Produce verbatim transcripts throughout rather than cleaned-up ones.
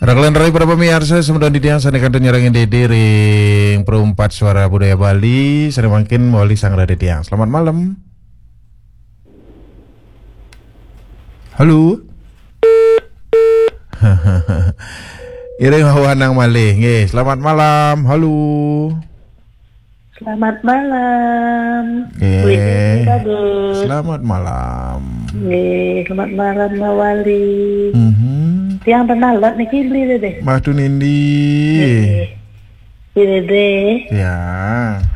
Raglan rai para pamiarsa, semeton titiang sane kantun nyarengin Dede ring Perumpat Suara Budaya Bali, sane mangkin mawali sang Dede tiang. Selamat malam. Halo. Iring wawanang malih. Nggih, selamat malam. Halo. Selamat malam. Nggih. Beli Dede, Kadus. Selamat malam. Nggih, selamat malam, Mawali. Mhm. Tiang tenalon niki, Beli Dede. Madu nindi. Nggih. Beli Dede. Ya.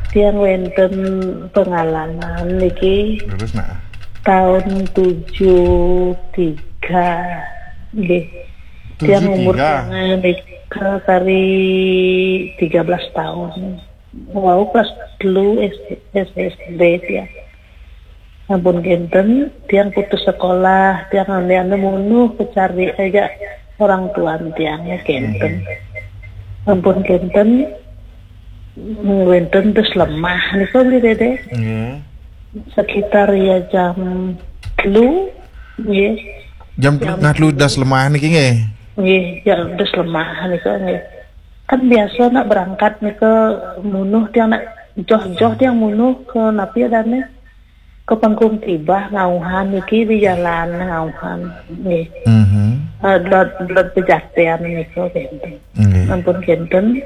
Tiang wenten pengalaman niki. Terus, nah. Tahun tujuh tiga. Nggih. Tiang umur tiang nika kari tiga belas tahun. Wau kelas telu S D, S D tiang. Ampun kenten, tiang putus sekolah, tiang ane-ane munuh kecari aja orang tuan tiang ya kenten. Ampun kenten, wenten dus lemah nika Beli Dede. Nggih. Sekitar ya jam telu, nggih. Jam telu, jam tengah telu das lemah niki nggih. Nggih, ya dus lemah nika nggih. Kan biasa nak berangkat nika munuh tiang nak joh-joh tiang munuh ke napi adane? Ke Pengkung Tibah ngauhan niki di jalan ngauhan nggih. Mhm. Eh, dot, dot Pejaten nika kenten. Nggih. Ampun kenten.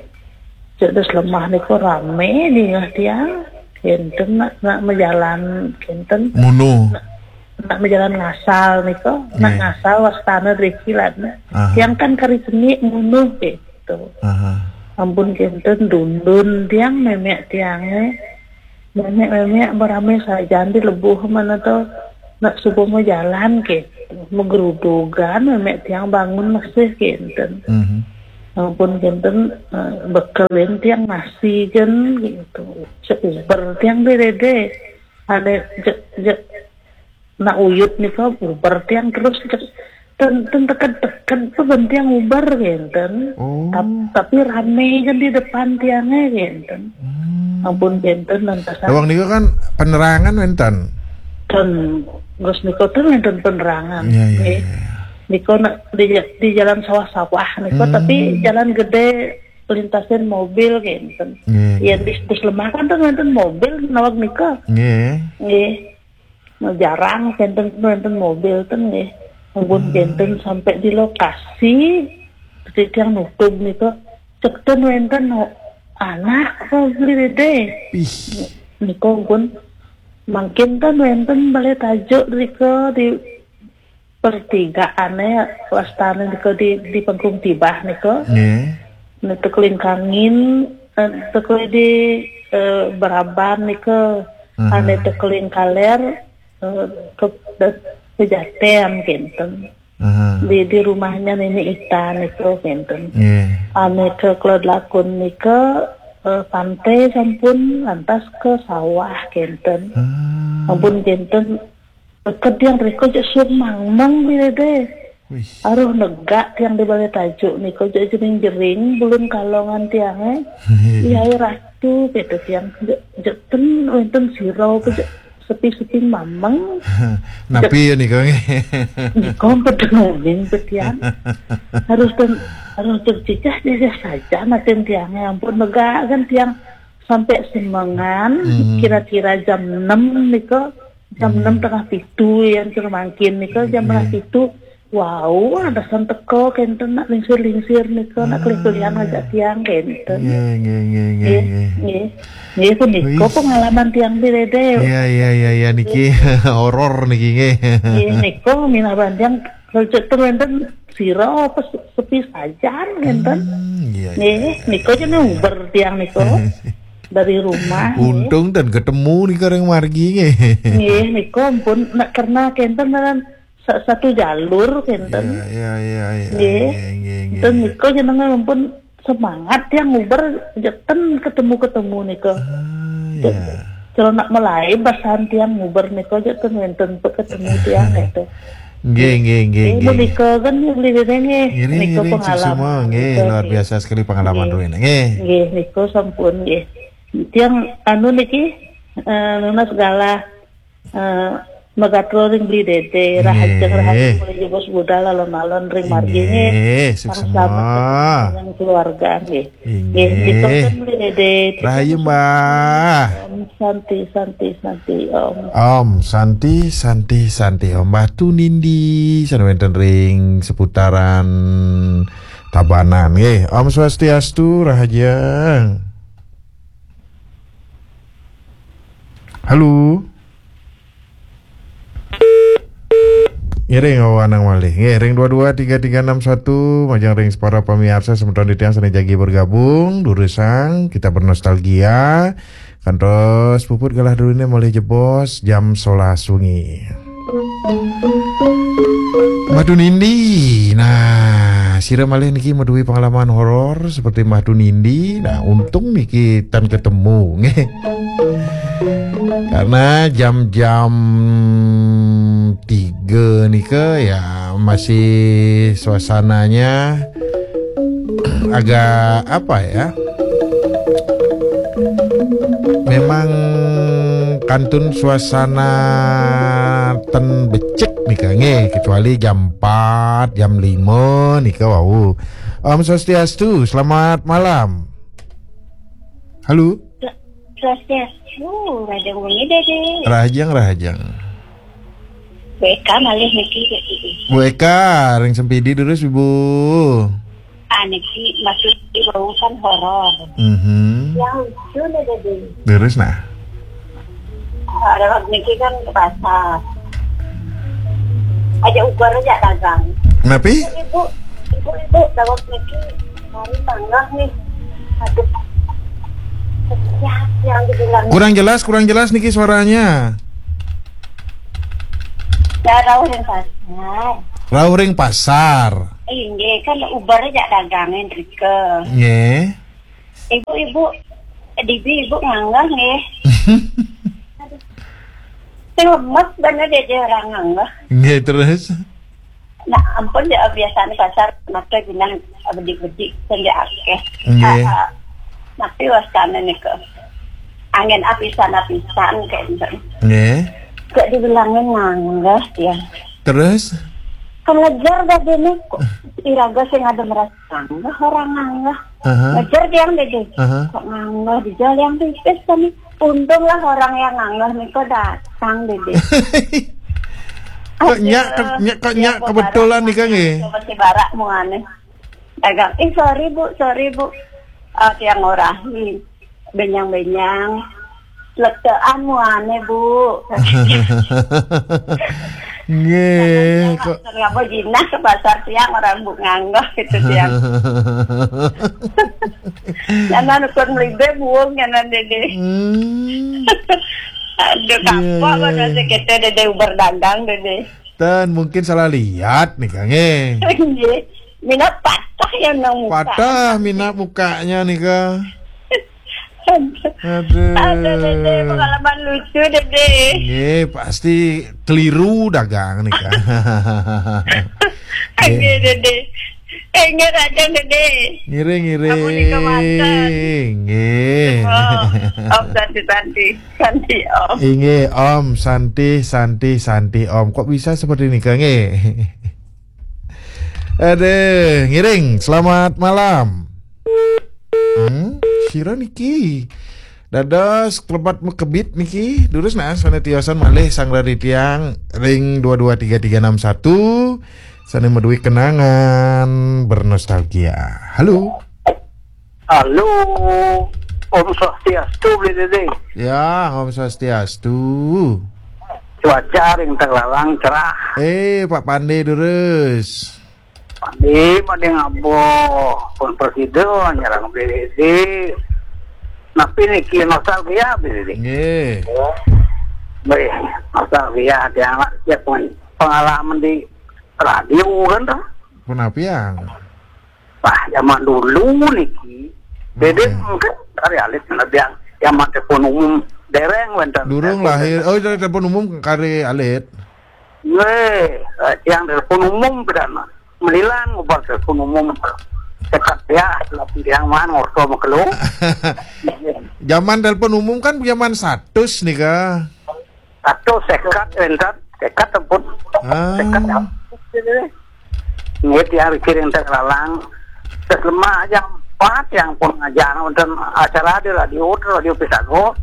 Cek dus lemah nika rame dingeh tiang. Kenten nak, nak mejalan kenten. Munuh. Nak, nak mejalan ngasal nika. Nak ngasal wastane driki lan. Aha. Tiang kan kari cenik munuh gitu. Aha. Ampun kenten dundun tiang memek tiange. Memek-memek berame sajan di lebuh mana to nak subuh mau jalan ke. Megerudugan memek tiang bangun masih kenten. Mhm. Ampun kenten, eh, bekelin tiang nasi kan gitu. Seuber tiang Beli Dede. Ane je, je, nak uyut nika uber tiang terus ke, ten, ten teked-teked tu ben tiang uber kenten. Oh. Tap-, tapi rame kan di depan tiange kenten. Hmm. Ampun kenten lantasan. Lawang nika kan penerangan wenten. Ten, terus nika ten wenten penerangan. Iya, iya, nggih. Iya. Nika nak di, di jalan sawah-sawah nika, hmm, tapi jalan gede lintasin mobil kenten. Nggih. Ya di, di Slemak kan ten wenten mobil nawak nika. Nggih. Nggih. Nah, jarang kenten, wenten mobil ten nggih. Ampun, hmm, kenten sampai di lokasi, seperti tiang nutug nika, cek ten wenten no-, anak apa Beli Dede. Ih. Nika ampun mangkin ten wenten balai tajuk nika di pertigaane wastane nika di, di Pengkung Tibah nika. Nggih. Nika tekeling kangin, eh, tekeling di, eh, Beraban nika, aha, ane tekeling kaler, eh, ke, ke Pejaten kenten. Aha. Di, di rumahnya Nini Ita nika kenten. Nggih. Ane ke Kelod Lakun nika, eh, pantai sampun lantas ke sawah kenten. Ah. Ampun kenten, teked tiang riko je suang mangmang Beli Dede. Wih. Aruh negak tiang di balai tajuk nika je jering-jering bulun kalongan tiange. Iya, Ratu, kata tiang. Je, je ten wenten sira apa je sepi-sepi mameng. Napi ya nika nggih? Nika ampun ten uning pe tiang. Harus ten, harus tercicah-cicah saja maten tiange. Ampun, megak kan tiang sampai semengan, hmm, kira-kira jam enam nika, jam, hmm, enam tengah pitu ya, kira mangkin nika jam, hmm, tengah pitu. Wau, ada san teka kenten nak lingsir-lingsir nika, nak, ah, kelih-kelihan ngajak tiang kenten. Nggih, nggih, nggih, nggih, nggih, nggih. Nggih. Nggih, punika, wih, pengalaman tiang Beli Dede. Iya, iya, iya, iya, niki horor niki nggih. Nggih, nika minab tiang, kalau cek ten wenten sira apa se-, sepi sajan kenten. Hmm, iya, iya, nggih, iya, nika iya, jane iya, uber tiang nika dari rumah, nggih. Untung ten ketemu nika ring margi nggih. Nggih, nika ampun nak karena kenten dalam sa-, satu jalur kenten. Iya, iya, iya, iya, nggih. Nggih, nggih, nggih, nggih. Nika jenenge ampun semangat tiang nguber, je ten ketemu-ketemu nika. Ah, je, iya. Kalau nak mulai basan tiang nguber nika je ten wenten pe ketemu tiang itu. Nggih, nggih, nggih, eh, nggih, nggih. Nika kan yang Beli Dede nggih. Ngiring, nika ngiring, pengalaman suksma, nggih, nika, luar, nggih, biasa sekali pengalaman, nggih, ruin, nggih. Nggih, nika sampun nggih. Tiang anu niki, eh, nunas galah, eh, Megatron ring Beli Dede, rahajeng, nggih, rahayu, mulih jebos budal alon-alon ring margi, nggih. Nggih, suksma. Sareng selamet yang keluarga, nggih. Nggih, nggih, ditonton Beli Dede. Rahayu, Mbah. Om Santi, Santi, Santi, Om. Om Santi, Santi, Santi, Om. Mbah Tunindi, sané wénten ring seputaran Tabanan, nggih. Om Swastiastu, rahajeng. Halo. Ngiring wawanang malih. Nggih, ring dua dua tiga tiga enam satu, majeng ring para pamiarsa semeton titiang sané jagi bergabung, durusang kita bernostalgia. Kantos puput galah druéné malih jebos jam sebelas wengi. Mbah Tunindi. Nah, sira malih niki madué pengalaman horor seperti Mbah Tunindi. Nah, untung niki tan ketemu, nggih. Karena jam-jam tiga nika ya masih suasananya agak apa ya? Memang kantun suasana ten becik nika nggih, kecuali jam empat, jam lima nika wau. Om Swastiastu, selamat malam. Halo. Swastiastu, rahajeng wengi, Dede. Rahajeng, rahajeng. Bu Eka malih niki, Dede. Bu Eka, ring Sempidi durus, Ibu. Ah, niki maksud di bau kan horor. Mhm. Yang lucu nih, Dede. Durus, nah. Ada niki kan ke pasar. Aja ubar aja dagang. Napi? Ibu, ibu, ibu, dawet niki hari tanggal nih. Aduh. Ya, yang dibilang. Kurang jelas, kurang jelas niki suaranya. Ya, rauh ring pasar. Rauh ring pasar. Inggih, kan ubar aja dagangin rike. Nggih. Ibu-ibu, dibi ibu nganggah nggih. Aduh. Sing lemes bener dia, dia orang nganggah. Nggih, terus? Nah, ampun ya, biasanya pasar maka jenang bedik-bedik sing akeh. Nggih. Ah, ah. Tapi wasana niku. Angin apisan-apisan kayak gitu. Nggih. Gak dibilangin nganggah dia. Terus? Kan ngejar dah dia nih, kok iraga sing ada merasa nganggah, orang nganggah. Aha. Ngejar dia, Dede. Aha. Kok nganggah di jalan yang pipis kan? Untunglah orang yang nganggah niku datang, Dede. Kok nyak, ke-, nyak, kok nyak kebetulan nih, Kang, nggih? Masih barak muane. Dagang, "Ih, sorry, Bu, sorry, Bu." Ah, tiang ngorahi. Benyang-benyang. Lektean muane, Bu. Nggih, kok. Ngapa jinah ke pasar tiang orang Bu nganggah gitu tiang. Jangan ukur melibe buung jangan, Dede. Hmm. Aduh, kapok. Iya, iya, mana iya. Sih kita, Dede, ubar dagang, Dede. Ten, mungkin salah lihat nih, Kang, eh. Nggih. Mina patah ya nang muka. Patah mina mukanya nih, Kang. Aduh. Aduh, Dede, pengalaman lucu, Dede. Nggih, pasti keliru dagang nih, Kang. Nggih, Dede. Eh, nggih, Raden, Dede. Ngiring, ngiring. Ampun, nika manten. Nggih. Oh, Om Santi, Santi. Santi, Om. Inggih, Om Santi, Santi, Santi, Om. Kok bisa seperti ini, Kang? Nggih. Aduh, ngiring. Selamat malam. Hmm, sira niki. Dados klebat mekebit niki. Durus nah, sané tiosan malih sang raritiang ring dua dua tiga tiga enam satu. Sané madué kenangan bernostalgia. Halo. Halo. Om Swastiastu, Bli Dede. Ya, Om Swastiastu. Cuaca ring Tegalalang cerah. Eh, Pak Pande durus. Pande, Pande ngaboh. Pun prasida nyerang Bli Dede. Napi niki, nostalgia, Bli Dede? Nggih. Nggih, nostalgia tiang lah, ya, peng-, pengalaman di radio kan, toh? Punapiang? Wah, zaman dulu niki. Bede, hmm, mungkin kari alit, nah, tiang zaman telepon umum dereng wénten. Durung lahir. Oh, dari telepon umum kari alit. Nggih, eh, tiang telepon umum pidana. Melilan ngubar telepon umum. Sekat ya, tiang man ngorto makelo. Zaman telepon umum kan zaman satus nika. Satus sekat wénten. Tekad pun. Ah. Tekad ya. Nggih, tiang rikir enten lalang. Terus lemah jam empat tiang pun ngajar wonten acara di radio, radio Pisago.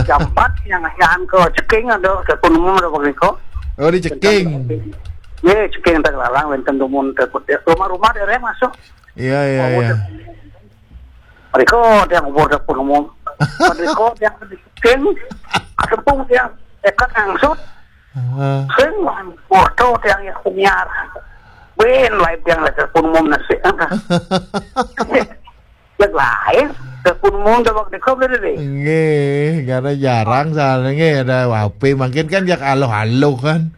Jam empat tiang ngajar ke Ceking ada, ke Gunung ada begitu. Oh, di Ceking. Nggih, Ceking enten lalang wonten dumun, rumah-rumah dereng masuk. Iya, iya, iya. Mereka tiang ubur dapur umum. Mereka tiang Ceking. Asempung tiang tekad angsut. Ah. Sing foto tiang ya kumiar. Ben lain tiang lihat pun umum nasi. Yang lain, telepon umum dah waktu kau beli deh. Nggih, karena jarang soalnya nggih ada H P. Mungkin kan jak aloh-aloh kan.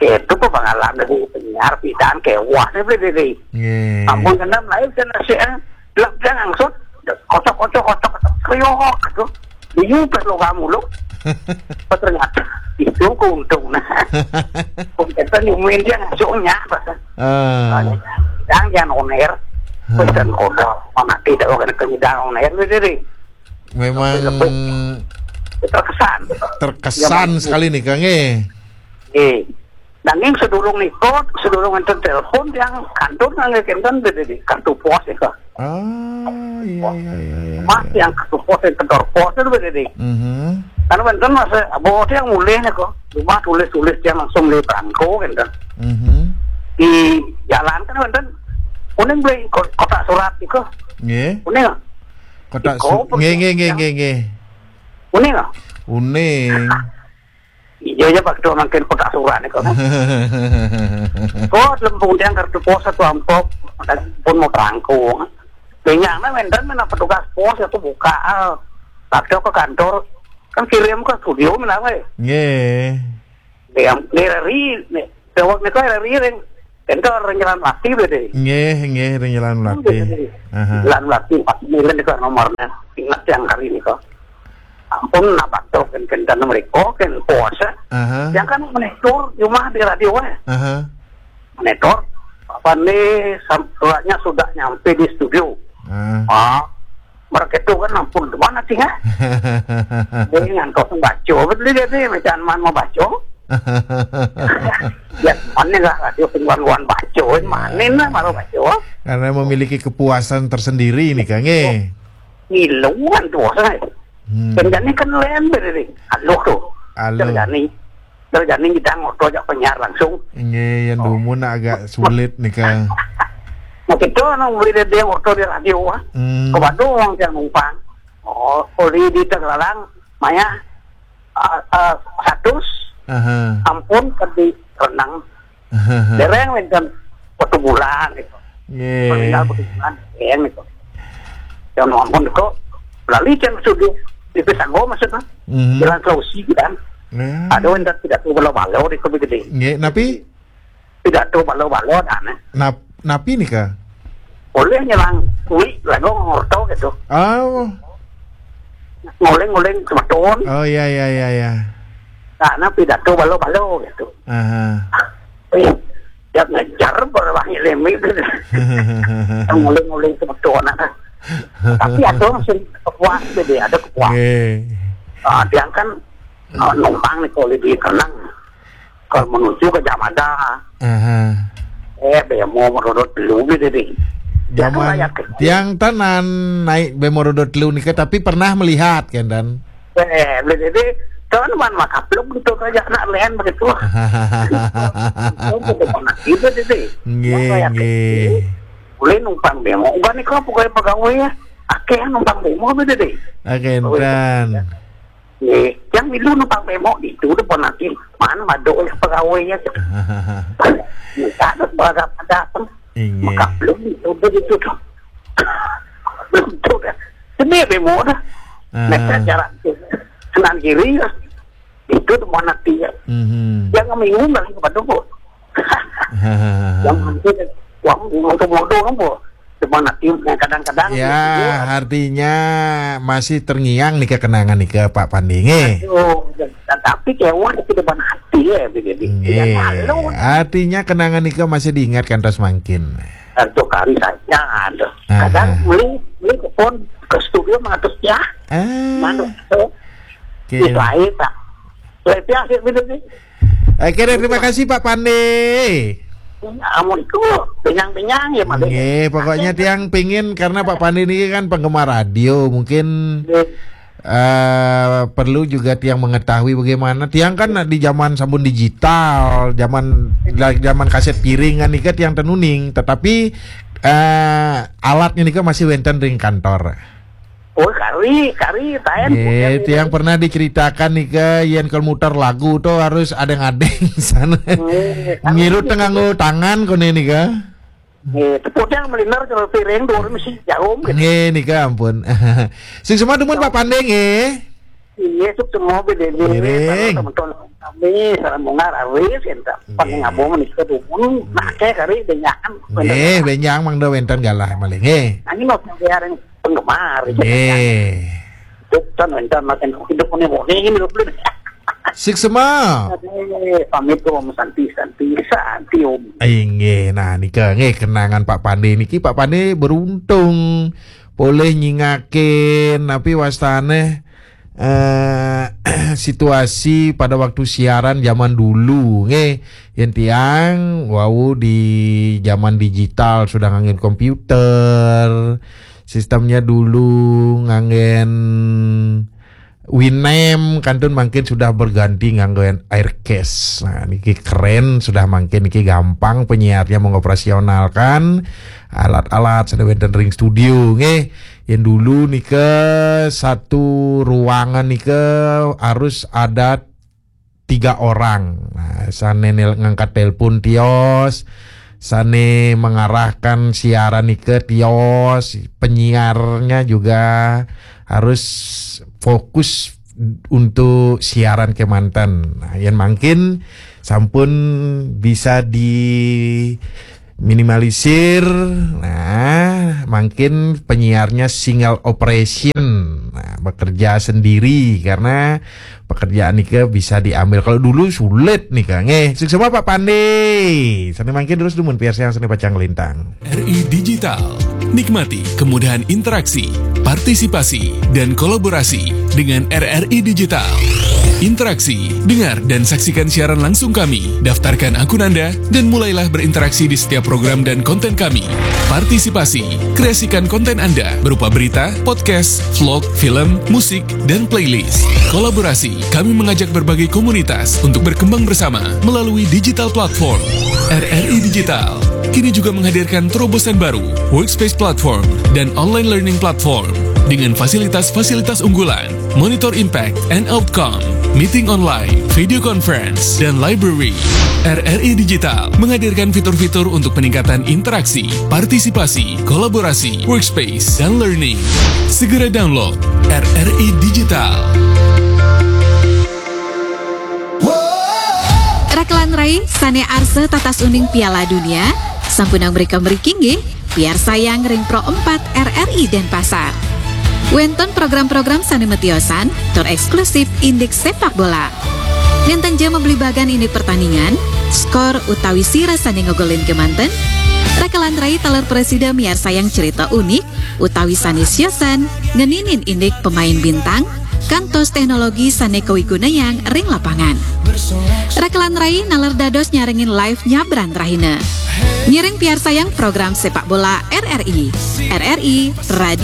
Itu kok pengalaman dari penyiar pidan kewah nih beli deh. Nggih. Ampun kenam lain kan nasi eh. Lak jangan angsut. Kocok-kocok, kocok-kocok, kriok gitu. Bingung pas lo kamu lo. Ternyata itu keuntungan. Kita nyumuin dia ngasuhnya pas. Ah. Yang jangan on air. Pesan kodok. Mana tidak kena kenyidang on air beli deh. Memang Terkesan. Terkesan sekali nih Kang eh. Eh. Nanging sedurung niku, sedurung enten telepon yang kantor nanging enten beda di kartu pos ya kok. Ah, iya iya iya iya. Mas yang kartu pos yang kantor pos itu beda di. Mhm. Karena enten mas bawa yang mulai nih kok. Rumah tulis-tulis dia langsung beli perangko enten. Mhm. Di jalan kan enten kuning beli ko- kotak surat itu. Nggih. Kuning. Kotak Iko, su- nggih nggih nggih nggih nggih. Kuning ah. Uning. Iya ya waktu makin kotak surat nih kok. Kok lempung tiang kartu pos satu amplop dan pun mau perangko. Benyaknya mendan mana petugas pos itu buka. Ah. Waktu ke kantor kan kirim ke studio menapa ya? Nggih. Yang dari nih, dewek nih kok dari ring. Itu orang jalan mati beda. Nggih, nggih ring jalan melatih. Aha. Jalan mati pas milen itu nomornya. Ingat yang hari ini kok. Ampun napa tuh kan kan mereka kan puasa. Aha. Yang kan monitor cuma di radio eh. Aha. Monitor apa nih suratnya sudah nyampe di studio. Ah. Ah, mereka itu kan ampun di mana sih ya? Dia ngantos baca betul dia sih macam mana mau baca. Ya, mana lah radio penguan-uan baca, mana lah baru baca. Karena memiliki kepuasan tersendiri nih Kang eh. Ngiluan tuh saya. Hmm. Kerjanya kan lembek ini. Aduh tuh. Aduh. Kerjanya. Kerjanya kita ngotot aja penyiar langsung. Nggih, yang dumun agak sulit nih Kang. Nah, kita orang beli dia ngotot di radio ah. Hmm. Ke Bandung orang yang numpang. Oh, kalau di Tegalalang, maya uh, uh, satu Aha. Ampun ke di renang. Aha. Dereng wenten satu bulan gitu. Nggih. Meninggal satu bulan, dereng gitu. Yang ampun kok lali yang sudah di Pisanggo maksudnya. Mhm. Jalan Sulawesi gitu kan. Nah. Ada wenten tidak tuh balo-balo di kopi gede. Nggih, napi Tidak tuh balo-balo aneh. Nap, napi nih Kang? Boleh nyelang kui lagu ngorto gitu. Oh. Nguling-nguling semeton. Oh iya iya iya iya. Karena pidato balo-balo gitu. Aha. Eh, dia ngejar berwah ngelemi gitu. Nguling-nguling semeton. Tapi ada masih kepuas gitu, ada kepuas. Nggih. Ah, dia kan ah, numpang nih kalau di Kenang. Kalau menuju ke Jamada, Aha. eh bemo merodot dulu gitu deh. Dia kan Zaman rakyat kecil. Tiang tenan naik bemo roda telu nika tapi pernah melihat kan dan Eh, jadi kan man makapluk gitu aja anak lain begitu. Itu pernah gitu deh. Nggih, nggih. Boleh numpang bemo. Enggak nih kok pokoknya pegawai ya. Akeh numpang bemo gitu deh. Oke, enten. Nih, yang milu numpang bemo itu udah pernah sih. Mana mado ya pegawai ya. Minta ada berapa datang. Inggih. Maka belum itu udah gitu tuh. Belum tuh dah. Sini bemo dah. Ah. Mereka jalan tuh. Senan kiri ya. Itu tuh mana dia. Mhm. Yang minggu lagi kepada kok. Yang mungkin uang untuk modal apa? Cuma nanti yang kadang-kadang Ya, artinya masih terngiang nih kenangan nih ke Pak Pandi nggih. Aduh, tapi kewah di depan hati ya begitu. Nggih. Yang lalu Artinya kenangan nika masih diingat kan terus mangkin. Satu kali saja ada. Kadang Aha. Beli beli ke pon ke studio mengatus ya. Ah. Mana tuh? Oke. Di lain tak. Lebih akhir gitu sih. Oke deh, terima kasih Pak Pande. Amun itu benyang-benyang ya, Pak. Nggih, pokoknya tiang pingin, karena Pak Pande ini kan penggemar radio, mungkin eh perlu juga tiang mengetahui bagaimana. Tiang kan di zaman sampun digital, zaman zaman kaset piringan nika tiang tenuning, tetapi eh alatnya nika masih wenten ring kantor. Oh, kari, kari, taen. Nggih, tiang pernah diceritakan nika, yen kalau muter lagu tuh harus adeng-adeng sana. Ngilu tengah nganggo tangan kone nika. Nggih, tepuk yang meliner kalau piring dua mesti jarum gitu. Nggih, nika ampun. Sing semua dumun Pak Pande nggih. Iya, suk semua B D B, miring. Teman-teman kami, salam bunga, rawis, entah. Nggih. Paling ngabung menikah dumun, nah, kayak kari benyakan. Nggih, benjang mangda wenten galah malih nggih. Nah, ini mau biar yang penggemar. Nggih. Itu kan wenten makin hidup ini mau ini hidup dulu. Sik sema. Pamit Om, Santi, Santi, Santi Om. Inggih, nah nika nggih kenangan Pak Pande niki. Pak Pande beruntung boleh nyingakin, tapi wastane eh situasi pada waktu siaran zaman dulu nggih. Yen tiang wau di zaman digital sudah nganggen komputer. Sistemnya dulu nganggen Winem, kantun mangkin sudah berganti nganggo Aircast. Nah, niki keren, sudah mangkin niki gampang penyiarnya mengoperasionalkan alat-alat sane wenten ring studio nggih. Yen dulu nika satu ruangan nika harus ada tiga orang. Nah, sane nel- ngangkat telepon tios, sane mengarahkan siaran nika tios, penyiarnya juga harus fokus untuk siaran kemanten. Nah, yen mangkin sampun bisa di minimalisir. Nah, mungkin penyiarnya single operation. Nah, bekerja sendiri karena pekerjaan nika bisa diambil. Kalau dulu sulit nika. Nggih, sukses Pak Pandi. Sane mangkin terus dumun piarsayang sane pacang lintang. R I Digital. Nikmati kemudahan interaksi, partisipasi, dan kolaborasi dengan R R I Digital. Interaksi, dengar dan saksikan siaran langsung kami. Daftarkan akun Anda dan mulailah berinteraksi di setiap program dan konten kami. Partisipasi, kreasikan konten Anda berupa berita, podcast, vlog, film, musik, dan playlist. Kolaborasi, kami mengajak berbagai komunitas untuk berkembang bersama melalui digital platform. R R I Digital kini juga menghadirkan terobosan baru, Workspace Platform dan Online Learning Platform dengan fasilitas-fasilitas unggulan, Monitor Impact and Outcome, Meeting Online, Video Conference, dan Library. R R I Digital menghadirkan fitur-fitur untuk peningkatan interaksi, partisipasi, kolaborasi, workspace, dan learning. Segera download R R I Digital. Rakelan rai sane arsa tatas uning Piala Dunia, sampunang mrika mriki nggih, piarsayang ring Pro empat R R I Denpasar. Wenten program-program sane matiosan tur eksklusif indik sepak bola. Nenten ja mabli bagan indik pertandingan, skor utawi sira sane ngogolin kemanten, rakelan rai taler prasida miarsayang cerita unik utawi sane siosan ngeninin indik pemain bintang, kantos teknologi sane kawigunayang ring lapangan. Rakelan rai naler dados nyarengin live nyabran rahina. Ngiring piarsayang program sepak bola R R I. R R I Radio